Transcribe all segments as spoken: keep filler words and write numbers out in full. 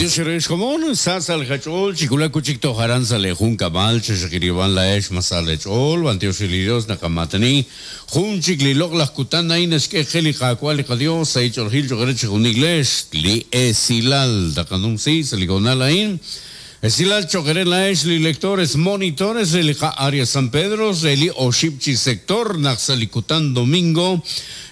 Dios xkomon sa salgachol chikula kuchik tojaran sale jun kabal chexikiriban la ex masale chol Dios Dios nakamatani jun chikli lok las kutan ain es que geli qakwal Dios ay chorgil chogere jun igles li esilal dakanum si saligonal ain Esilal chogere la ex li lectores monitores el área San Pedro eli oshipchi sector naxalikutan domingo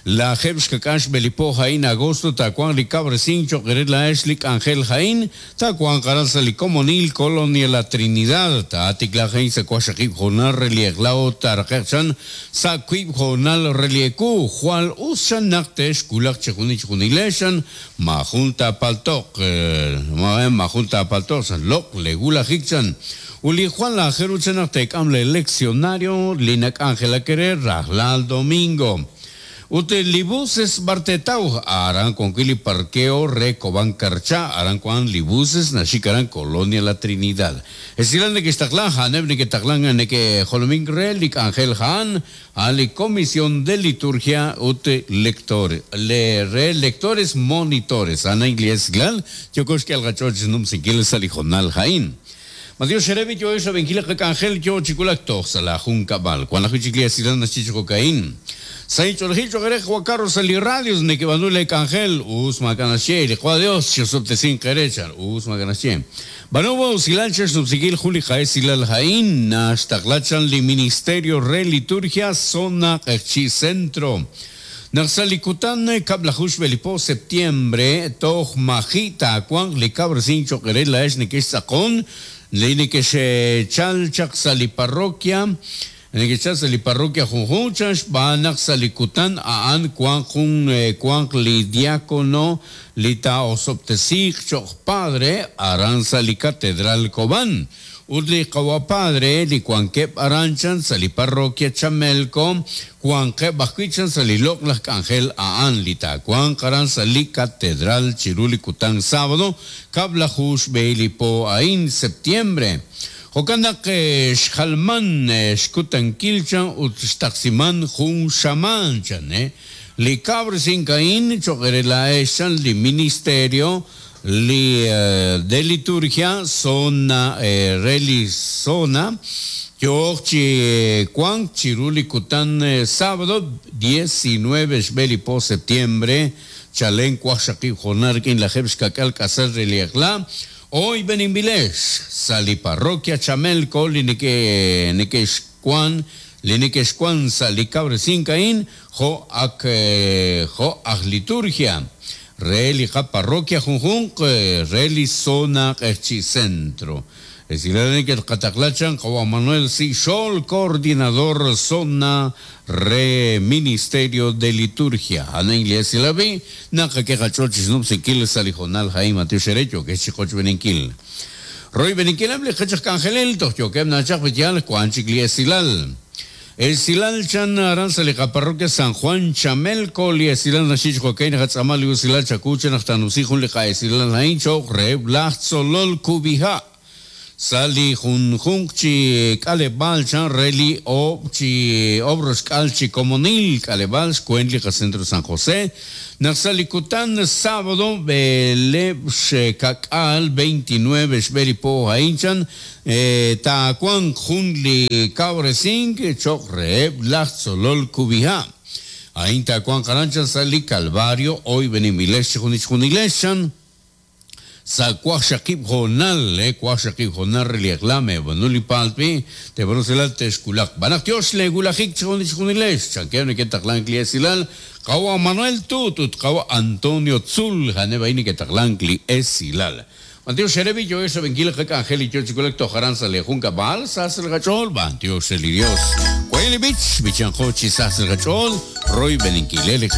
la jebs kakash belipo jain agosto tacuan li cabresin chogere la ex li angel jain tacuan caranza li comonil colonia la Trinidad tatikla jain sacuashakib jonal relieglao tarqechan sakuib jonal relieku jual usan naktesh kulak chejunich junileshan majunta paltok majunta paltok san lok legula hikchan uli Juan la jeruchan am le leccionario linak Ángela querer rajlal domingo Ute libuses bartetau aran con kili parqueo recoban carcha aran con libuses nashikaran colonia la Trinidad. Esilan de que estaclan haneb que taclan que jolomín relik Ángel Han ali comisión de liturgia ute lectores le re lectores monitores ana inglés glal yo que al gachoch num sinkil salijonal jain. Mateo Sherebi yo eso venkila Ángel yo chikulak tox la juncabal cuando la chiquilla silan nachicho cocaín. Sai chorjil chogerej Juan Carlos ali radios ne que banule Ángel us macanachie le Juan Dios yo sin querechar us macanachie. Banubo silanches subsigil Juli Jaes silal Jaín nashtaqlachan li ministerio re liturgia zona chi centro. Naxalikutan kablajush belipo septiembre toj majita cuan li cabresin choquerel la es nekesakon le nekeshe chal chaxali parroquia nekesha sali parroquia junjunchas banak salikutan aan cuan jun cuan li diácono lita osoptesik choc padre aran sali catedral Cobán Udli kawa padre li cuanquep aranchan sali parroquia Chamelco cuanquep bajuichan sali loclas Ángel aan lita cuan karan sali catedral Chiruli Kután sábado kablajush beilipo ain septiembre Jokandak xjalman xkutan kilchan utxtaximan jun xamanchan eh li cabresin kain choquerela echan li ministerio li eh, de liturgia zona eh, reli zona yochi cuan chiruli kutan eh, sábado diecinueve xbelipo septiembre chalen cuaxaqui jonarkin la jebxkakal kasar reliakla hoy beninvilex sali parroquia Chamelco linike nekexcuan linekexcuan sali cabresin kain jo ak eh, jo ak liturgia Relica parroquia junjun, reli zona echi centro. Es decir, que el Cataclachan, Juan Manuel Sixol, coordinador zona re ministerio de liturgia. Ana iglesia la vi, naka que gachochis no se kil salijonal Jaime Mateo Xerecho, que chicoch beninquil. Roy beninquil hable gachach cangelel, tocho que nachach betial, cuanchicli esilal. El silal chan aranza le parroquia San Juan Chamelco li silal nachich joaquín hatzamal li silal chakuchen hasta nusijun le cae silal haincho re solol kubija sali jun junchi kalebal chan reli o chi obros calchi comunil kalebal cuentli centro San José Naxalikutan sábado bele kakal veintinueve xberipo hainchan tacuan junli cabresink chokre solol kubija ain tacuan caranchan sali calvario hoy benimilesh junich junileshan sa cuaxakib jonal eh cuaxakib jonal reliaklame banuli palpi te bruselal teskulak banak dios le gulajik junich junilesh chankeune que taqlan kliasilal Kawa Manuel Tutut, Kawa Antonio Tzul, Janebaini que taqlankli esilal. Mateo Xerebi, yo eso venquil jaka Angel y yo chicolec tojaran sale junca bal, sasel gachol, ban, Dios el Dios. Cuele bich, bichan hochi sasel gachol, Roy beninquilele